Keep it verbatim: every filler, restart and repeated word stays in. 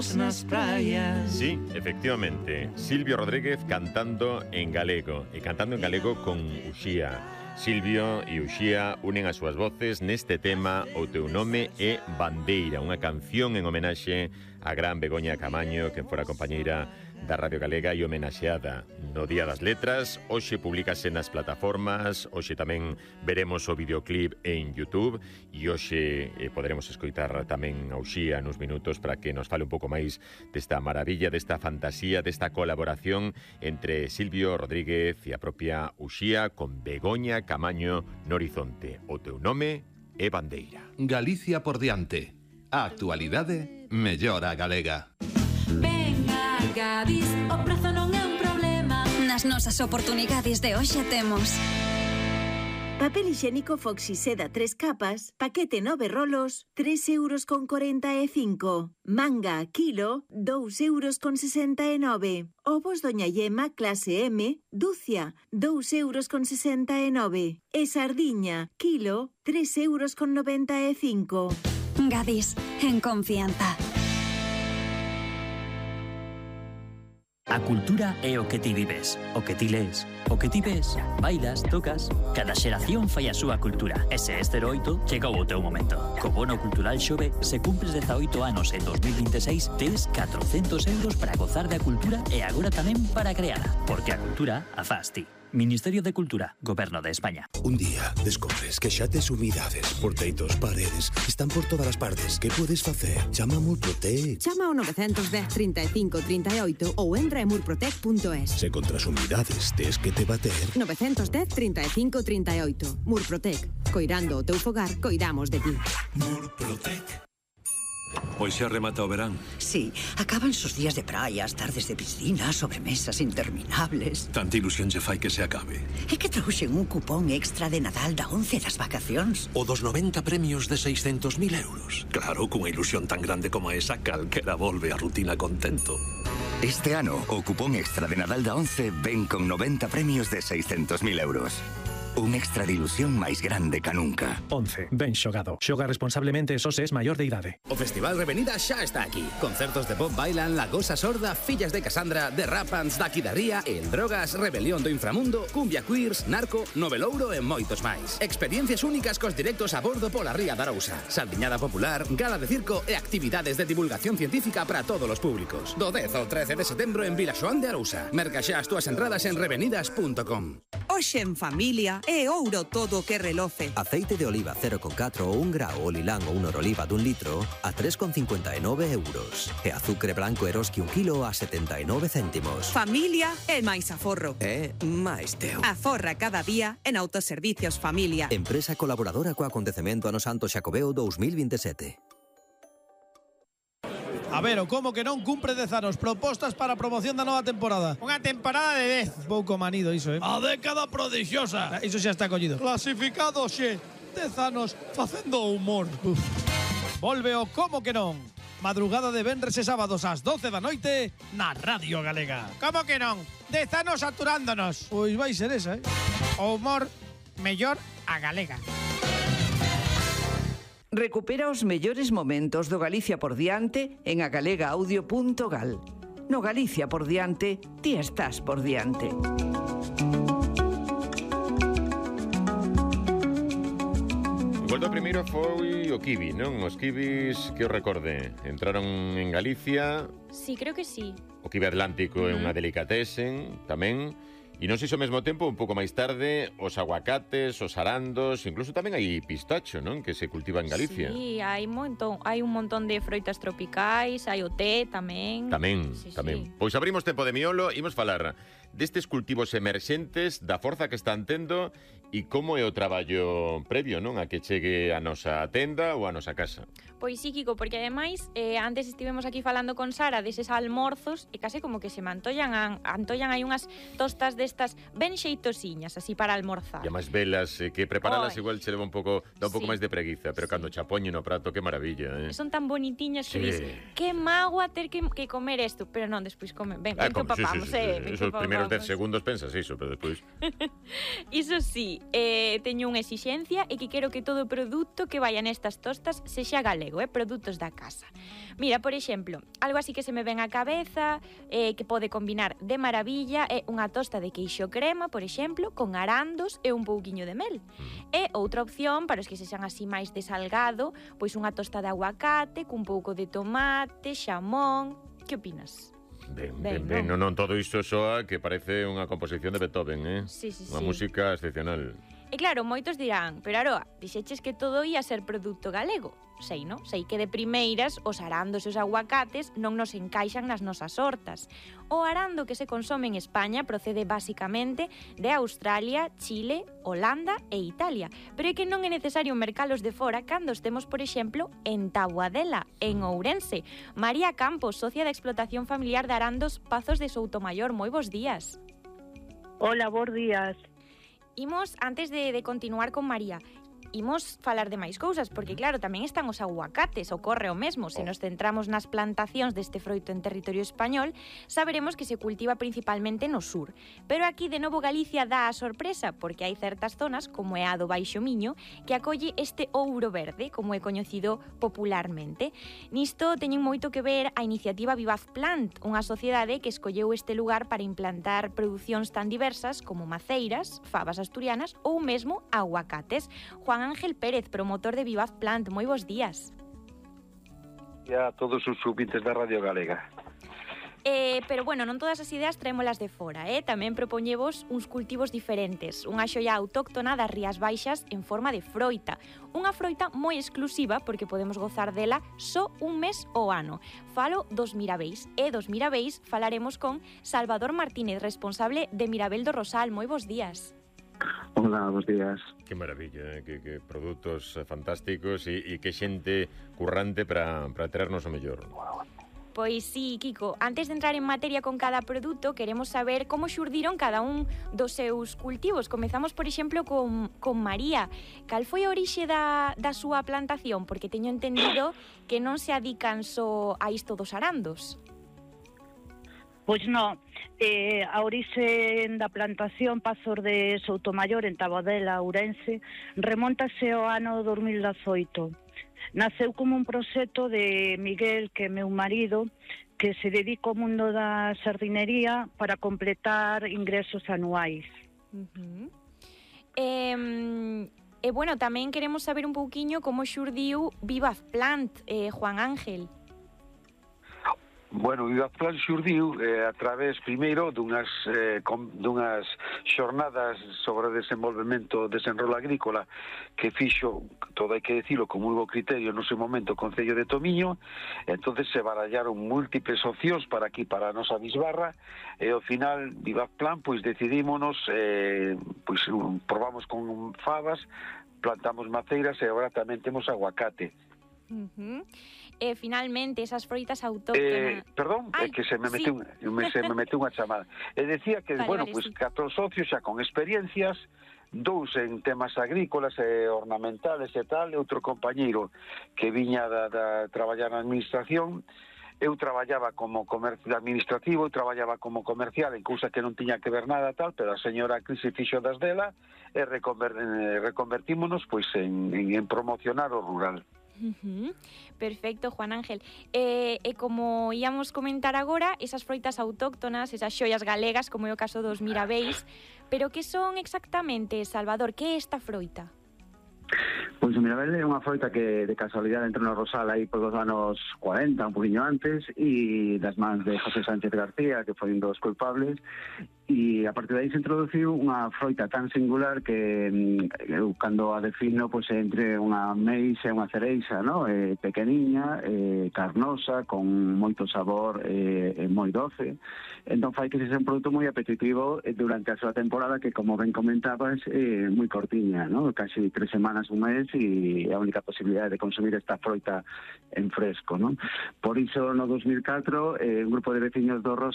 arroz nas praias. Sí, efectivamente, Silvio Rodríguez cantando en galego e cantando en galego con Uxía. Silvio e Uxía unen as súas voces neste tema O teu nome é Bandeira, unha canción en homenaxe a gran Begoña Camaño, que fora compañeira da Radio Galega e homenaxeada no Día das Letras. Hoxe publicase nas plataformas, hoxe tamén veremos o videoclip en YouTube e hoxe eh, poderemos escoitar tamén a Uxía nos minutos para que nos fale un pouco máis desta maravilla, desta fantasía, desta colaboración entre Silvio Rodríguez e a propia Uxía con Begoña Camaño no horizonte. O teu nome é Bandeira. Galicia por diante. A actualidade mellora a galega. Venga, Gadis, o prazo non é un problema. Nas nosas oportunidades de hoxe temos papel higiénico Foxy Seda tres capas, paquete nove rolos, tres euros con cuarenta e cinco. Manga kilo, dous euros con sesenta e nove. Ovos Doña Yema clase M, dúcia, dous euros con sesenta e nove. E sardiña, kilo, tres euros con noventa e cinco. Gadis, en confianza. A cultura é o que ti vives, o que ti lees, o que ti ves, bailas, tocas. Cada xeración fai a súa cultura. E se este oito, chegou o teu momento. Co bono cultural Xove, se cumpres dezaoito anos en dos mil veintiséis, tes catrocentos euros para gozar da cultura e agora tamén para creala. Porque a cultura a faz ti. Ministerio de Cultura, Goberno de España. Un día descobres que xa tes humidades, porteitos, paredes, están por todas as partes. Que podes facer? Chama a Murprotec. Chama ao nove dez, trinta e cinco, trinta e oito ou entra en murprotec punto es. Se contra as humidades tes que te bater. nove dez, trinta e cinco, trinta e oito. Murprotec. Coirando o teu fogar, coidamos de ti. Murprotec. Pois xa remata o verán. Sí, acaban sus días de praia, as tardes de piscina, sobremesas interminables. Tanta ilusión lle fai que se acabe. É que trouxen un cupón extra de Nadal da once das vacacións. O dos noventa premios de seiscentos mil euros. Claro, cunha ilusión tan grande como esa, calquera volve a rutina contento. Este ano, o cupón extra de Nadal da once ven con noventa premios de seiscentos mil euros. Un extra de ilusión máis grande ca nunca. once. Ben xogado. Xoga responsablemente só se es maior de idade. O Festival Revenida xa está aquí. Concertos de Bob Bailan, La Gosa Sorda, Fillas de Casandra, The Rapans, Daqui da Ría, El Drogas, Rebelión do Inframundo, Cumbia Queers, Narco, Novelouro e moitos máis. Experiencias únicas cos directos a bordo pola Ría da Arousa. Saldiñada popular, gala de circo e actividades de divulgación científica para todos os públicos. Do dez ao trece de setembro en Vilaxoán de Arousa. Merca xa as túas entradas en revenidas punto com. Hoxe en familia é ouro todo o que reloce. Aceite de oliva cero coma catro ou un grao ou lilán ou un oroliva dun litro a tres coma cincuenta e nove euros. E azucre branco Eroski un kilo a setenta e nove céntimos. Familia é máis aforro. É máis teu. Aforra cada día en Autoservicios Familia. Empresa colaboradora co acontecemento ano Santo Xacobeo dos mil veintisiete. A ver, o como que non cumpre dez anos. Propostas para a promoción da nova temporada. Unha temporada de dez. Pouco manido iso, eh? A década prodixiosa. Iso xa está collido. Clasificado xe. dez anos facendo humor. Uf. Volve o como que non. Madrugada de venres e sábados ás doce da noite na Radio Galega. Como que non? dez anos saturándonos. Pois vai ser esa, eh? O humor mellor a galega. Recupera os mellores momentos do Galicia por diante en agalegaaudio punto gal. No Galicia por diante, ti estás por diante. O gol do primeiro foi o Kiwi, non? Os Kiwis, que os recorde, entraron en Galicia. Sí, creo que sí. O Kiwi Atlántico é unha delicatessen tamén. E non sei se ao mesmo tempo, un pouco máis tarde, os aguacates, os arandos, incluso tamén hai pistacho, non? Que se cultiva en Galicia. Sí, hai montón, hai un montón de froitas tropicais, hai o té tamén. Tamén, sí, tamén. Sí. Pois abrimos tempo de miolo, imos falar destes cultivos emerxentes, da forza que están tendo e como é o traballo previo, non? A que chegue a nosa tenda ou a nosa casa. Pois sí, Kiko, porque ademais eh, antes estivemos aquí falando con Sara deses almorzos e case como que se me antollan, antollan hai unhas tostas destas ben xeitosiñas, así para almorzar. E máis velas, eh, que preparalas Oy. igual che leva un pouco, dá un pouco Sí. máis de preguiza, pero sí. Cando cha poñen no prato, que maravilla, eh? Son tan bonitiñas que Sí. dis, que magua ter que, que comer isto, pero non, despois come, ben, Ah, ben que come, sí, papamos, sí, sí, eh, sí. ben Eso que primeiro primeiros dez segundos pensas iso, pero despois... Iso sí, eh, teño unha exixencia e que quero que todo produto que vaya nestas tostas sexa galego, eh, produtos da casa. Mira, por exemplo, algo así que se me ven á cabeza, eh, que pode combinar de maravilla, é unha tosta de queixo crema, por exemplo, con arandos e un pouquiño de mel. E outra opción, para os que sexan así máis de salgado, pois unha tosta de aguacate, cun pouco de tomate, xamón... Que opinas? Ben, ben, ben, non, non, todo isto soa que parece unha composición de Beethoven, eh? Sí, sí, Unha sí. música excepcional. E claro, moitos dirán, pero Aroa, dixeches que todo ia ser produto galego. Sei, non? Sei que de primeiras os arandos e os aguacates non nos encaixan nas nosas hortas. O arando que se consome en España procede basicamente de Australia, Chile, Holanda e Italia, pero é que non é necesario mercalos de fora cando estemos, por exemplo, en Taboadela, en Ourense. María Campos, socia de explotación familiar de arandos Pazos de Soutomayor. Moi bons días. Hola, bons días. Imos, antes de, de continuar con María, imos falar de máis cousas, porque claro, tamén están os aguacates, ocorre o mesmo. Se nos centramos nas plantacións deste froito en territorio español, saberemos que se cultiva principalmente no sur. Pero aquí, de novo, Galicia dá a sorpresa, porque hai certas zonas, como é a do Baixo Miño, que acolle este ouro verde, como é coñecido popularmente. Nisto teñen moito que ver a iniciativa Vivaz Plant, unha sociedade que escolleu este lugar para implantar producións tan diversas como maceiras, fabas asturianas ou mesmo aguacates. Juan Ángel Pérez, promotor de Vivaz Plant, moi bons días. E a todos os ouvintes da Radio Galega. Eh, pero bueno, non todas as ideas traémolas de fora, eh? Tamén propoñevos uns cultivos diferentes, unha xoia autóctona das Rías Baixas en forma de froita. Unha froita moi exclusiva porque podemos gozar dela só un mes ao ano. Falo dos Mirabeis, e dos Mirabeis falaremos con Salvador Martínez, responsable de Mirabel do Rosal. Moi bons días. Hola, bons días. Que maravilla, eh? que, que produtos fantásticos e, e que xente currante para, para traernos o mellor. Pois sí, Kiko, antes de entrar en materia con cada produto, queremos saber como xurdiron cada un dos seus cultivos. Comezamos, por exemplo, con, con María. Cal foi a orixe da, da súa plantación? Porque teño entendido que non se adican só a isto dos arandos. Pois non, eh, a orixe da plantación Pazos de Soutomayor en Taboadela, Ourense, remontase ao ano dos mil dezoito. Naceu como un proxecto de Miguel, que é meu marido, que se dedica ao mundo da sardinería para completar ingresos anuais. Uh-huh. Eh, e, bueno, tamén queremos saber un pouquiño como xurdiu Vivaz Plant, eh, Juan Ángel. Bueno, o Vivaz Plant xurdiu eh, a través, primeiro, dunhas, eh, com, dunhas xornadas sobre o desenvolvemento, desenrolo agrícola que fixo, todo hai que dicilo, con moi bo criterio no seu momento o Concello de Tomiño. Entonces se barallaron múltiples opcións para aquí, para a nosa bisbarra, e ao final, Vivaz Plant, pois decidímonos, eh, pois probamos con fabas, plantamos maceiras e agora tamén temos aguacate. Uh-huh. E finalmente esas froitas autóctonas. Eh, perdón, é que se me meteu, sí. me, se me meteu unha chamada. E decía que, vale, bueno, vale, pues sí. catro socios xa con experiencias, dous en temas agrícolas e ornamentales e tal, e outro compañeiro que viña da, da traballar na administración. Eu traballaba como comercio administrativo, eu traballaba como comercial en cousa que non tiña que ver nada tal, pero a señora Cris fixo das dela e reconver, eh, reconvertímonos pois en, en, en promocionar o rural. Uh-huh. Perfecto, Juan Ángel. E, e como íamos comentar agora, esas froitas autóctonas, esas xoias galegas, como é o caso dos Mirabeis, pero que son exactamente, Salvador? Que é esta froita? Pois o Mirabel é unha froita que de casualidade entrou no Rosal aí por dos anos cuarenta, un poquinho antes, e das mans de José Sánchez García, que foi un dos culpables, e a partir de aí se introduciu unha froita tan singular que eu cando a defino pois entre unha meixa e unha cereixa, no? Eh, pequeniña, eh, carnosa, con moito sabor e eh, moi doce. Entón fai que se sea un produto moi apetitivo durante a súa temporada, que como ben comentabas, é eh, moi cortiña, no? Casi tres semanas, un mes, e a única posibilidade de consumir esta froita en fresco, no? Por iso no dos mil catro eh, un grupo de veciños do Rosal